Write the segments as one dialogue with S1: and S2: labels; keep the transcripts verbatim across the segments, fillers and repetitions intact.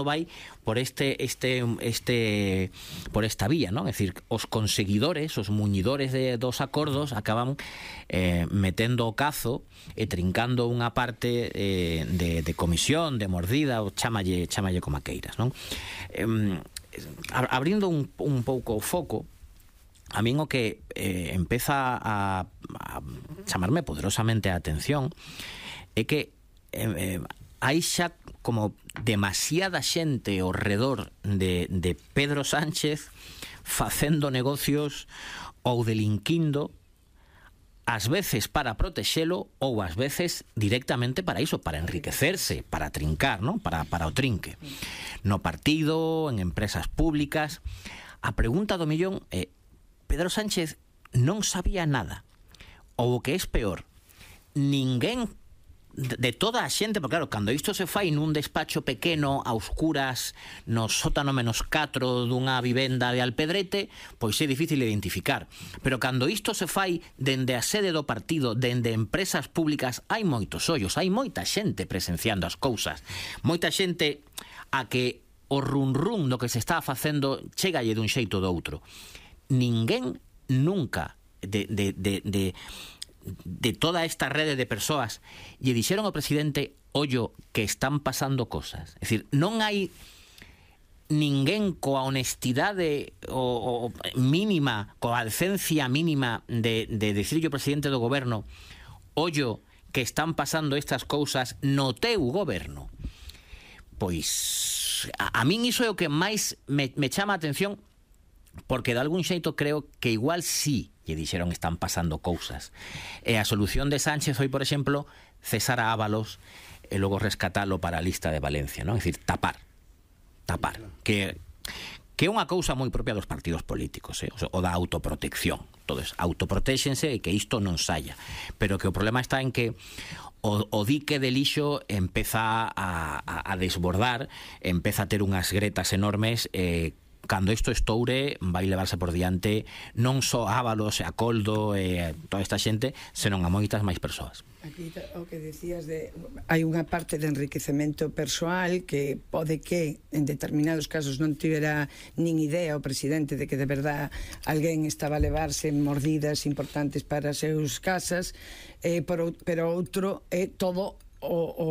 S1: vai por este este este por esta vía, non? É dicir, os conseguidores, os muñidores de dos acordos acaban eh, metendo o cazo e trincando unha parte eh, de, de comisión, de mordida, ou chámalle, chámalle como queiras, non? Eh, abrindo un, un pouco o foco, a min o que eh, empeza a, a chamarme poderosamente a atención é que eh, eh, hai xa como demasiada xente ao redor de, de Pedro Sánchez facendo negocios ou delinquindo, ás veces para protexelo ou ás veces directamente para iso, para enriquecerse, para trincar, ¿no? para, para o trinque. No partido, en empresas públicas. A pregunta do millón é: Pedro Sánchez non sabía nada, ou o que é peor, ninguén de toda a xente, porque claro, cando isto se fai nun despacho pequeno, a oscuras, no sótano menos catro dunha vivenda de Alpedrete, pois é difícil identificar. Pero cando isto se fai dende a sede do partido, dende empresas públicas, hai moitos ollos, hai moita xente presenciando as cousas, moita xente a que o run run do que se está facendo chegalle dun xeito do outro. Ninguén nunca de, de, de, de de toda esta rede de persoas lle dixeron ao presidente: ollo, que están pasando cosas. É dicir, non hai ninguén coa honestidade o, o mínima, coa decencia mínima de, de dicirlle ao presidente do goberno: ollo, que están pasando estas cousas no teu goberno. Pois a, a min iso é o que máis me, me chama a atención, porque de algún xeito creo que igual sí lle dixeron están pasando cousas. E a solución de Sánchez foi, por exemplo, cesar a Ábalos e logo rescatalo para a lista de Valencia, non? É dicir, tapar. Tapar. Que, que é unha cousa moi propia dos partidos políticos, eh? O da autoprotección. Todos autoprotéxense e que isto non saia. Pero que o problema está en que o, o dique de lixo empeza a, a, a desbordar, empeza a ter unhas gretas enormes e eh, cando isto estoure vai levarse por diante non só Ábalos e a Coldo e toda esta xente, senón a moitas máis persoas.
S2: Aquí o que decías de hai unha parte de enriquecemento persoal que pode que en determinados casos non tivera nin idea o presidente de que de verdad alguén estaba a levarse mordidas importantes para as seus casas, eh, pero, pero outro é todo O, o,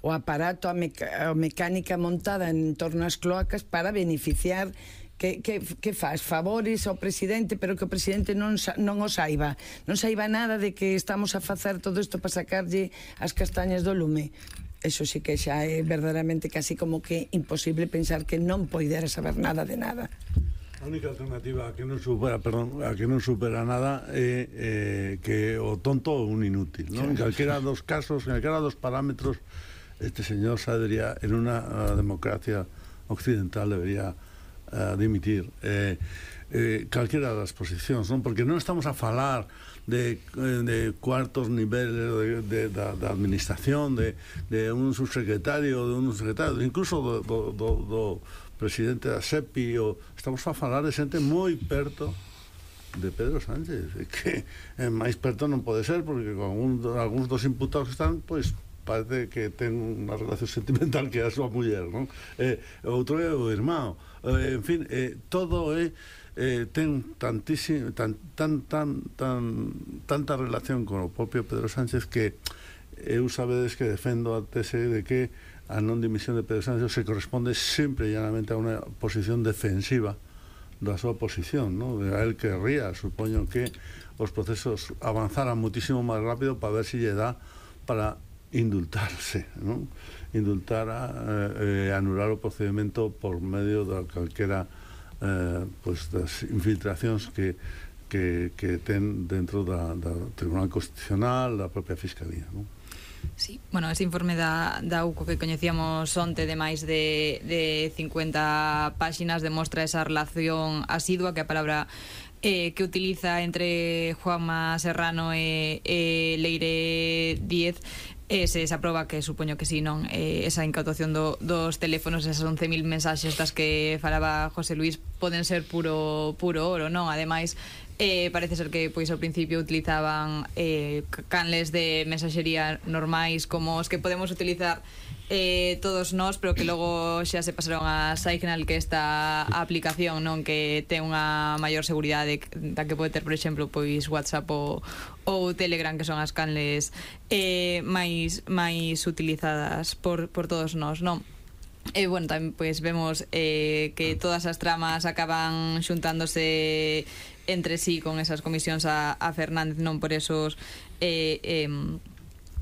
S2: o aparato, a, meca, a mecánica montada en torno ás cloacas para beneficiar, que, que, que faz favores ao presidente, pero que o presidente non, non o saiba, non saiba nada de que estamos a facer todo isto para sacarlle as castañas do lume. Eso sí que xa é verdadeiramente casi como que imposible pensar que non poidera saber nada de nada.
S3: A única alternativa a que non supera, perdón, a que non supera nada é eh, que o tonto é un inútil, ¿no? En calquera dos casos, en calquera dos parámetros, este señor saldría en unha uh, democracia occidental debería uh, dimitir. Eh, eh, calquera das posicións, non? Porque non estamos a falar de, de cuartos niveles de, de, da, da administración, de, de un subsecretario, de un secretario, incluso do, do, do, do presidente da SEPI, o estamos a falar de xente moi perto de Pedro Sánchez, que é máis perto non pode ser, porque con un, algúns dos imputados que están, pois parece que ten unha relación sentimental que é a súa muller, non? Eh, outro é o irmão, eh, en fin, eh, todo é eh, ten tantísimo tan, tan, tan, tan tanta relación con o propio Pedro Sánchez que eu sabedes que defendo a tese de que a non dimisión de Pedro Sánchez se corresponde sempre llanamente a unha posición defensiva da súa posición, ¿no? A él querría, supoño que os procesos avanzaran muitísimo máis rápido para ver se lle dá para indultarse, ¿no? Indultar a eh, anular o procedimento por medio de calquera eh, pues das infiltracións que, que, que ten dentro da, da Tribunal Constitucional, da propia Fiscalía, ¿no?
S4: Sí, bueno, ese informe da, da U C O que coñecíamos onte de máis de, de cincuenta páxinas demostra esa relación asidua, que a palabra eh, que utiliza entre Juanma Serrano e, e Leire Díez eh, se, se aproba, que supoño que sí, non? Eh, esa incautación do, dos teléfonos, esas once mil mensaxes das que falaba José Luís, poden ser puro puro oro, non? Ademais, eh, parece ser que pois ao principio utilizaban eh, canles de mensaxería normais como os que podemos utilizar eh, todos nós, pero que logo xa se pasaron a Signal, que esta aplicación, non, que ten unha maior seguridade da que pode ter, por exemplo, pois WhatsApp ou, ou Telegram, que son as canles eh, máis máis utilizadas por, por todos nós, non? E, bueno, tamén pois vemos eh, que todas as tramas acaban xuntándose entre sí con esas comisións a, a Fernández, non, por esos eh, eh,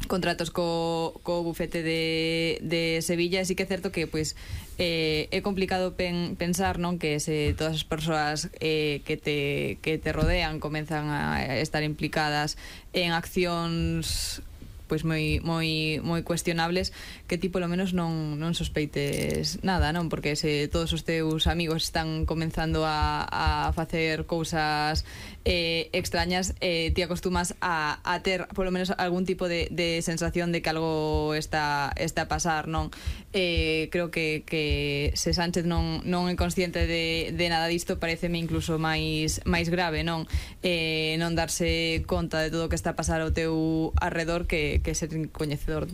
S4: contratos co, co bufete de, de Sevilla. E sí que é certo que pois eh, é complicado pen, pensar, non, que se todas as persoas eh, que te que te rodean comenzan a estar implicadas en accións pois moi moi moi cuestionables, que ti polo menos non non sospeites nada, non? Porque se todos os teus amigos están comenzando a a facer cousas eh extrañas, eh ti acostumas a a ter polo menos algún tipo de de sensación de que algo está está a pasar, non? Eh creo que que se Sánchez non non é consciente de de nada disto, paréceme incluso máis máis grave, non? Eh non darse conta de todo o que está a pasar ao teu arredor que que ser coñecedor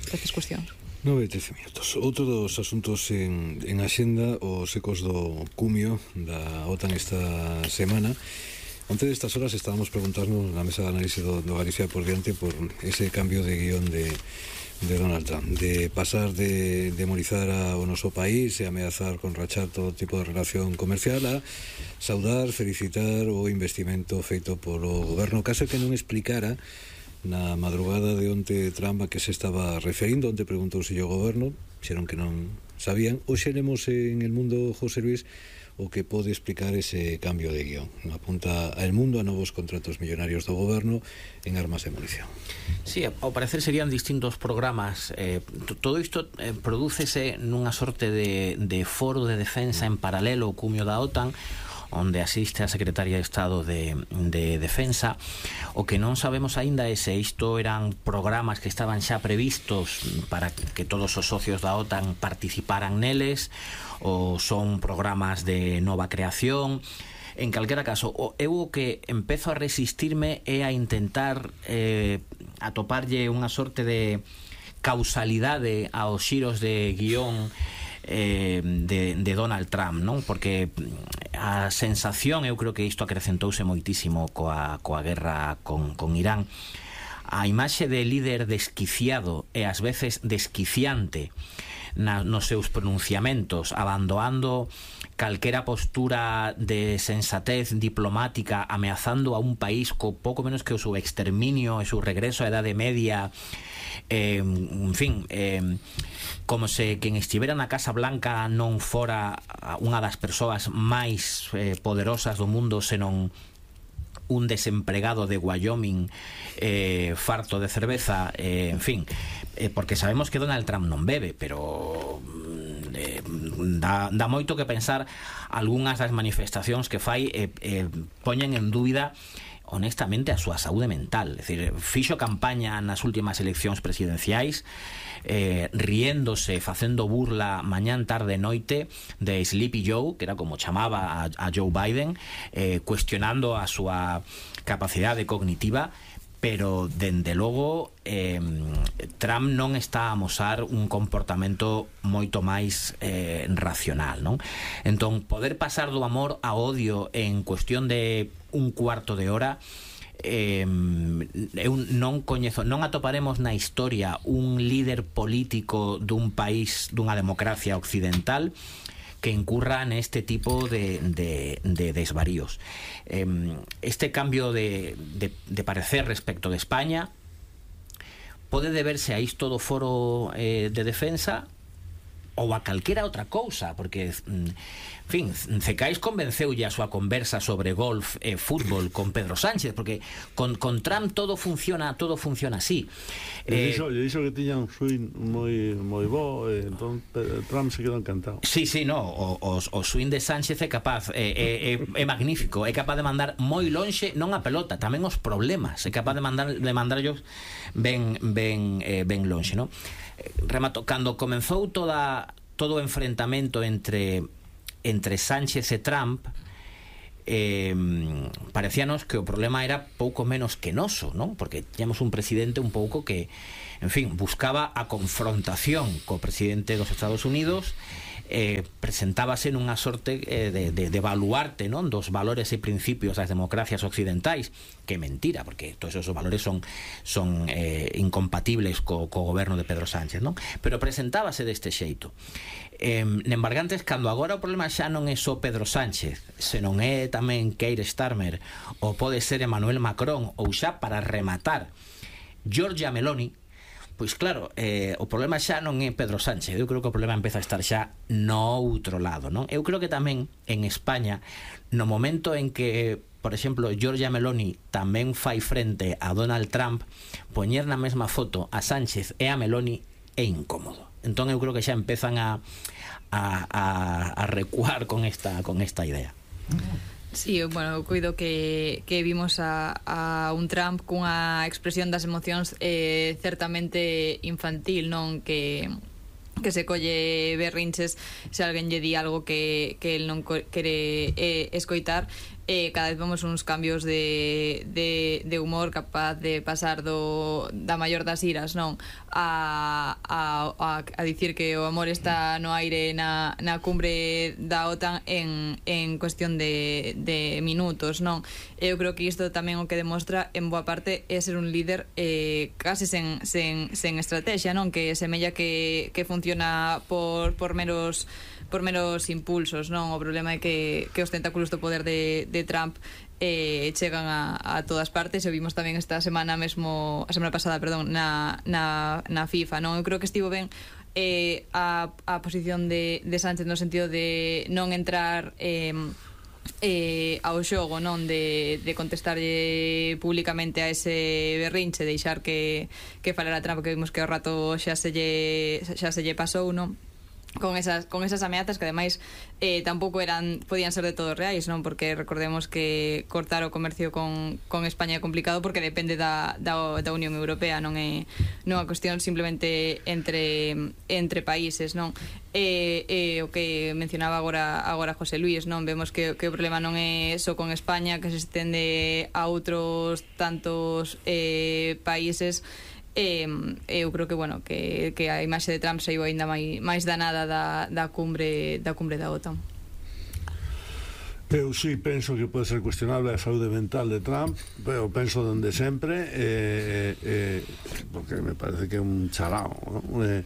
S4: destas cuestións.
S5: nove e trece minutos. Outro dos asuntos en, en axenda, os ecos do cumio da OTAN esta semana. Onte destas horas estábamos preguntando na mesa de análise do, do Galicia por diante por ese cambio de guión de, de Donald Trump, de pasar de demonizar ao noso país e ameazar con rachar todo tipo de relación comercial a saudar, felicitar o investimento feito polo goberno, caso que non explicara na madrugada de onte Trump a que se estaba referindo. Onte preguntouse o goberno, xeron que non sabían. Hoxe lemos en El Mundo, José Luis, o que pode explicar ese cambio de guión. Apunta a El Mundo a novos contratos millonarios do goberno en armas e munición.
S1: Sí, ao parecer serían distintos programas. Eh, todo isto eh, prodúcese nunha sorte de, de foro de defensa en paralelo ao cumio da OTAN, onde asiste a Secretaria de Estado de, de Defensa. O que non sabemos aínda é se isto eran programas que estaban xa previstos para que todos os socios da OTAN participaran neles, ou son programas de nova creación. En calquera caso, eu o que empezo a resistirme é a intentar eh, atoparlle unha sorte de causalidade aos xiros de guión Eh, de, de Donald Trump, non? Porque a sensación, eu creo que isto acrecentouse moitísimo coa, coa guerra con, con Irán, a imaxe de líder desquiciado e ás veces desquiciante na, nos seus pronunciamentos, abandonando calquera postura de sensatez diplomática, ameazando a un país co pouco menos que o seu exterminio e o seu regreso á Edade Media, eh, en fin, eh, como se quen estivera na Casa Blanca non fora unha das persoas máis eh, poderosas do mundo, senón un desempregado de Wyoming eh, farto de cerveza, eh, en fin, eh, porque sabemos que Donald Trump non bebe, pero eh, dá, dá moito que pensar algunhas das manifestacións que fai eh, eh, poñen en dúbida honestamente a súa saúde mental. É dicir, fixo campaña nas últimas eleccións presidenciais eh, riéndose, facendo burla mañán, tarde e noite de Sleepy Joe, que era como chamaba a, a Joe Biden, eh, cuestionando a súa capacidade cognitiva, pero dende logo eh, Trump non está a amosar un comportamento moito máis eh, racional, non? Entón, poder pasar do amor ao odio en cuestión de un cuarto de hora, eh, eu non coñezo, non atoparemos na historia un líder político dun país, dunha democracia occidental que incurra neste tipo de, de, de desvaríos. Eh, este cambio de, de, de parecer respecto de España pode deberse a isto do foro eh, de defensa ou a calquera outra cousa, porque en fin, Cecais convenceulle a súa conversa sobre golf e fútbol con Pedro Sánchez, porque con, con Trump todo funciona todo funciona así.
S3: Eh, dixo, dixo que tiña un swing moi moi bo, eh, entón Trump se quedou encantado.
S1: Sí, sí, no, o, o, o swing de Sánchez é capaz, é, é, é, é magnífico, é capaz de mandar moi lonxe, non a pelota, tamén os problemas, é capaz de mandar de mandarllos ben ben eh, ben lonxe, non? Remato, cando comenzou toda todo o enfrentamento entre entre Sánchez e Trump, eh, parecíanos que o problema era pouco menos que noso, non? Porque tiñamos un presidente un pouco que, en fin, buscaba a confrontación co presidente dos Estados Unidos, eh, presentábase nunha sorte eh, de, de, de baluarte, non? Dos valores e principios das democracias occidentais, que mentira, porque todos esos valores son son eh, incompatibles co, co goberno de Pedro Sánchez, non? Pero presentábase deste xeito. Eh, nembargantes, cando agora o problema xa non é só Pedro Sánchez, senón é tamén Keir Starmer, ou pode ser Emmanuel Macron, ou xa para rematar Giorgia Meloni, pois claro, eh, o problema xa non é Pedro Sánchez. Eu creo que o problema empeza a estar xa no outro lado, non? Eu creo que tamén en España, no momento en que, por exemplo, Giorgia Meloni tamén fai frente a Donald Trump, poñer na mesma foto a Sánchez e a Meloni é incómodo. Entón eu creo que xa empezan a, a, a, a recuar con esta, con esta idea.
S4: Sí, bueno, cuido que, que vimos a, a un Trump cunha expresión das emocións eh, certamente infantil, non? Que que se colle berrinches se alguén lle di algo que, que el non quere eh, escoitar. Eh, cada vez vemos uns cambios de, de, de humor capaz de pasar do, da maior das iras, non? A, a, a, a dicir que o amor está no aire na, na cumbre da OTAN en, en cuestión de, de minutos, non? Eu creo que isto tamén o que demostra en boa parte é ser un líder eh, case sen, sen, sen estrategia, non? Que semella que, que funciona por, por meros por meros impulsos, non? O problema é que, que os tentáculos do poder de, de Trump eh, chegan a, a todas partes, e vimos tamén esta semana mesmo, a semana pasada, perdón, na, na, na FIFA, non? Eu creo que estivo ben eh, a, a posición de, de Sánchez no sentido de non entrar eh, eh, ao xogo, non? De, de contestarlle públicamente a ese berrinche, deixar que, que falara Trump, que vimos que ao rato xa se lle, xa se lle pasou, non? con esas con esas ameazas que ademais eh, tampouco eran podían ser de todo reais, non? Porque recordemos que cortar o comercio con, con España é complicado porque depende da, da, da Unión Europea, non é non é cuestión simplemente entre entre países, non? E, e o que mencionaba agora agora José Luis, non? Vemos que, que o problema non é só con España, que se estende a outros tantos eh, países. Eh, eu creo que, bueno, que, que a imaxe de Trump saiu aínda máis, máis danada da, da cumbre da cumbre da OTAN.
S3: Eu sí penso que pode ser cuestionable a saúde mental de Trump, pero penso dende sempre, eh, eh, porque me parece que é un chalao, ¿no? eh,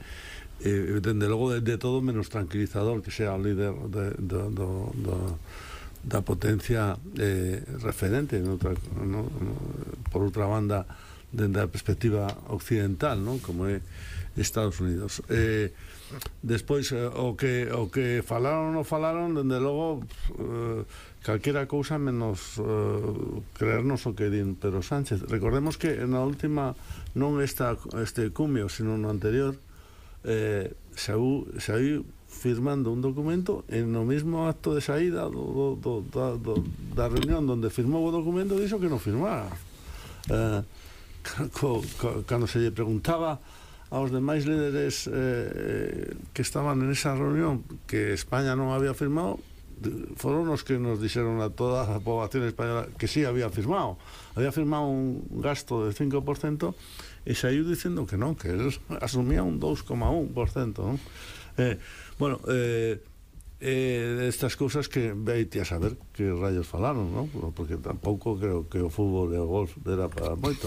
S3: eh, dende logo de, de todo menos tranquilizador que sea o líder de, de, de, de, da potencia eh, referente, no, no, no, por outra banda, dende a perspectiva occidental, non? Como é Estados Unidos. Eh, despois, eh, o que o que falaron ou non falaron, dende logo, eh, calquera cousa menos eh, creernos o que din Pedro Sánchez. Recordemos que na última, non esta, este cumio, sino no anterior, eh, saiu, saiu firmando un documento en no mismo acto de saída do, do, do, do, da reunión donde firmou o documento, dixo que non firmara. Eh, cando se lle preguntaba aos demais líderes eh, que estaban en esa reunión que España non había firmado, foron os que nos dixeron a toda a población española que sí había firmado había firmado un gasto de cinco por ciento e saiu dicendo que non, que eles asumían un dos coma un por ciento, non? Eh, bueno, eh, eh, estas cousas que veite a saber que rayos falaron, non? Porque tampouco creo que o fútbol e o golf era para moito.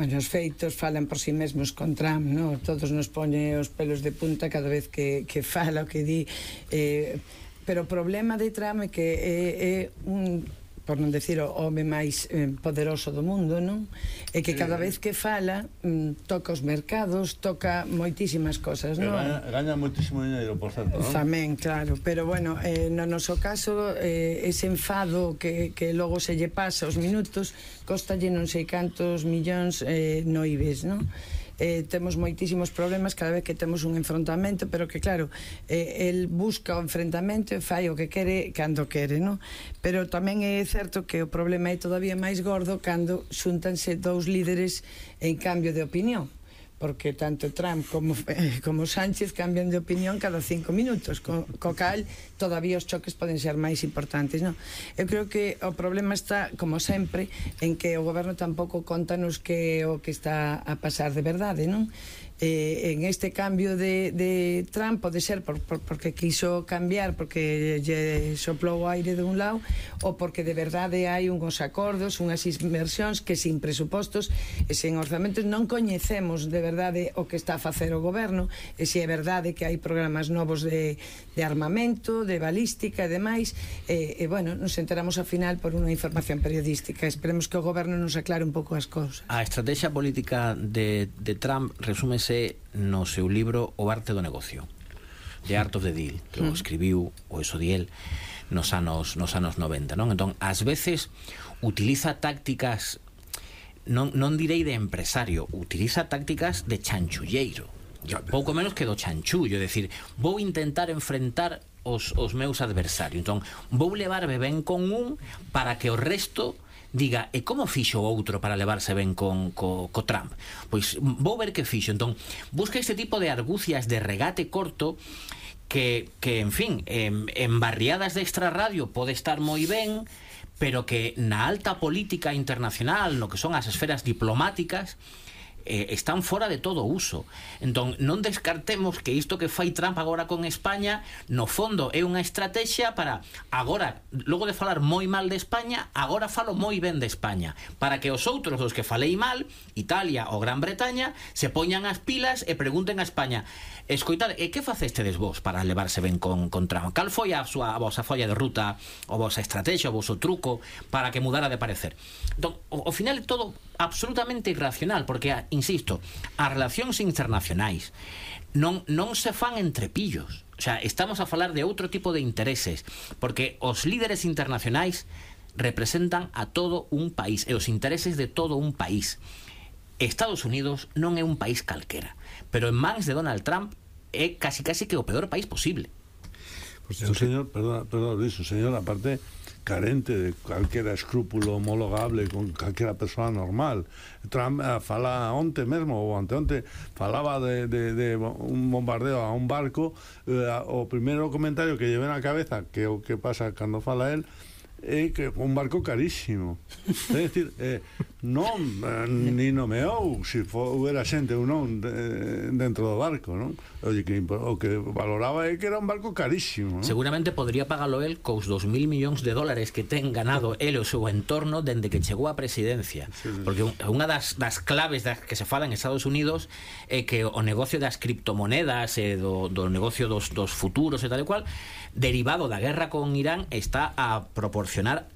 S2: Bueno, os feitos falan por si mesmos con Trump, non? Todos nos pone os pelos de punta cada vez que, que fala o que di, eh, pero o problema de Trump é que é, é un, por non decir o home máis eh, poderoso do mundo, non? E que cada vez que fala mm, toca os mercados, toca moitísimas cosas, non?
S3: Gaña, gaña moitísimo dinheiro, por certo, non?
S2: Tamén, claro, pero bueno, eh, no noso caso eh, ese enfado que, que logo se lle pasa os minutos costalle non sei cantos millóns eh, noibes, non? Eh, temos moitísimos problemas cada vez que temos un enfrontamento, pero que claro, eh, el busca o enfrentamento e fai o que quere cando quere, non? Pero tamén é certo que o problema é todavía máis gordo cando xuntanse dous líderes en cambio de opinión, porque tanto Trump como, eh, como Sánchez cambian de opinión cada cinco minutos, co, co cal todavía os choques poden ser máis importantes, non? Eu creo que o problema está, como sempre, en que o goberno tampouco contanos que o que está a pasar de verdade, non? Eh, en este cambio de, de Trump pode ser por, por, porque quiso cambiar, porque lle soplou o aire de un lado, ou porque de verdade hai uns acordos, unhas inversións que sin presupostos e sin orzamentos non coñecemos de verdade o que está a facer o goberno, e se é verdade que hai programas novos de, de armamento, de balística e demais, e, e bueno, nos enteramos ao final por unha información periodística. Esperemos que o goberno nos aclare un pouco as cousas.
S1: A estrategia política de, de Trump resúmese no seu libro O arte do negocio, The Art of the Deal, que o escribiu o Esodiel nos anos nos anos noventa, non? Entón, ás veces utiliza tácticas, non, non direi de empresario, utiliza tácticas de chanchulleiro, pouco menos que do chanchullo, é dicir, vou intentar enfrentar os, os meus adversarios, entón, vou levarme ben con un para que o resto diga, e como fixo o outro para levarse ben con co, co Trump? Pois vou ver que fixo. Entón, busca este tipo de argucias de regate corto que, que en fin, en, en barriadas de extrarradio pode estar moi ben, pero que na alta política internacional, no que son as esferas diplomáticas, eh, están fora de todo uso. Entón, non descartemos que isto que fai Trump agora con España, no fondo é unha estrategia para agora, logo de falar moi mal de España, agora falo moi ben de España, para que os outros dos que falei mal, Italia ou Gran Bretaña, se poñan as pilas e pregunten a España, escoitad, e que facestedes vos para levarse ben con, con Trump? Cal foi a súa a vosa folla de ruta, a vosa estrategia, o voso truco para que mudara de parecer? Entón, ao final é todo absolutamente irracional, porque, insisto, as relacións internacionais non, non se fan entre pillos. O sea, estamos a falar de outro tipo de intereses, porque os líderes internacionais representan a todo un país e os intereses de todo un país. Estados Unidos non é un país calquera, pero en mans de Donald Trump é casi casi que o peor país posible.
S3: Pues un señor, perdón, perdón, Luis, un señor aparte carente de calquera escrúpulo homologable con calquera persona normal. Trump eh, fala onte mesmo ou anteonte falaba de, de, de un bombardeo a un barco, eh, o primeiro comentario que lleve na cabeza, que o que pasa cando fala él, é que un barco carísimo. É dicir, eh, non eh, ni nomeou se houbera xente ou non de, dentro do barco, non? Oye, que o que valoraba é que era un barco carísimo, non?
S1: Seguramente podría pagalo el cos dos mil millóns de dólares que ten ganado el o seu entorno dende que chegou á presidencia, sí, sí. Porque unha das, das claves das que se fala en Estados Unidos é que o negocio das criptomonedas e do, do negocio dos, dos futuros e tal e cual, derivado da guerra con Irán, está a proporcionar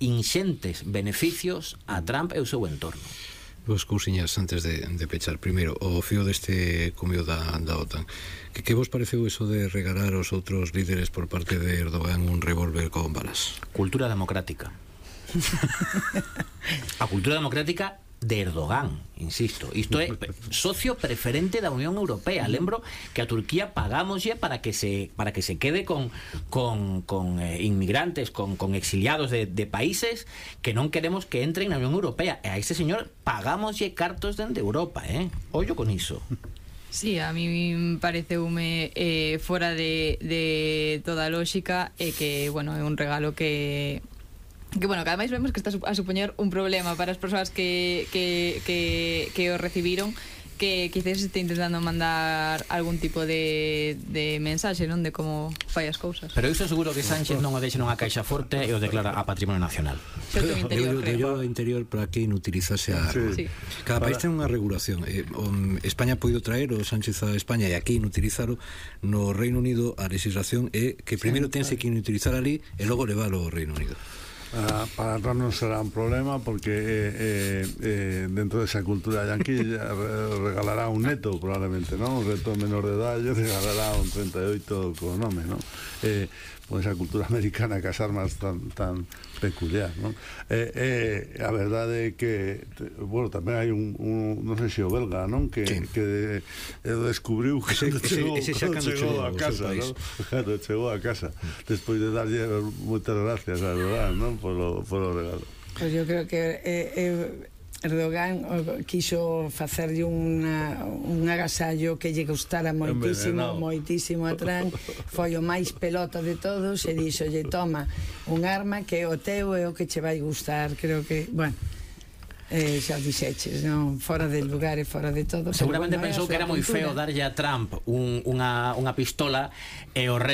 S1: inxentes beneficios a Trump e o seu entorno.
S5: Dos cousiñas antes de, de pechar. Primeiro, o fío deste comio da, da OTAN. Que, que vos pareceu eso de regalar aos outros líderes por parte de Erdogan un revólver con balas?
S1: Cultura democrática. A cultura democrática de Erdogan, insisto. Isto é socio preferente da Unión Europea. Lembro que a Turquía pagámoslle para que se para que se quede con con, con eh, inmigrantes, con, con exiliados de, de países que non queremos que entren na Unión Europea. E a este señor pagámoslle cartos dende Europa, eh? Ollo con iso.
S4: Sí, a mí pareceume eh, fora de, de toda lógica e que, bueno, é un regalo que que, bueno, que ademais vemos que está a supoñer un problema para as persoas que, que, que, que o recibiron, que quizás este intentando mandar algún tipo de, de mensaxe, non? De como fai as cousas.
S1: Pero iso seguro que Sánchez non o deixa nunha caixa forte e o declara a Patrimonio Nacional.
S4: Certo interior,
S5: creo. Do interior para que inutilizase a arma. Sí. Cada país ten unha regulación. Eh, um, España podido traer o Sánchez a España e aquí inutilizaro. No Reino Unido a legislación é que primeiro tense que inutilizar ali e logo levalo ao Reino Unido.
S3: Uh, para Trump non será un problema porque eh, eh, dentro desa cultura yanqui regalará un neto probablemente, ¿no? Un reto menor de edad yo regalará un treinta e oito con nome, ¿no? Eh, con esa cultura americana que as armas tan, tan peculiar, ¿no? Eh, eh, a verdade é que bueno, tamén hai un, un non sei se o belga, ¿no? Que, sí. que eh, descubriu que ese, chegou, ese, ese cando chegou a casa, ¿no? Claro, chegou a casa despois de darlle moitas gracias a Erdogan, ¿no? Polo, polo regalo.
S2: Pues yo creo que eh, eh, Erdogan quiso facerlle unha, un agasallo que lle gustara moitísimo, moitísimo a Trump. Foi o máis pelota de todos e dixolle, toma un arma que é o teu e o que che vai gustar. Creo que, bueno, eh, xa dixeches, non? Fora del lugar e fora de todo.
S1: Seguramente
S2: bueno,
S1: pensou que era moi feo darlle a Trump un, unha, unha pistola e o resto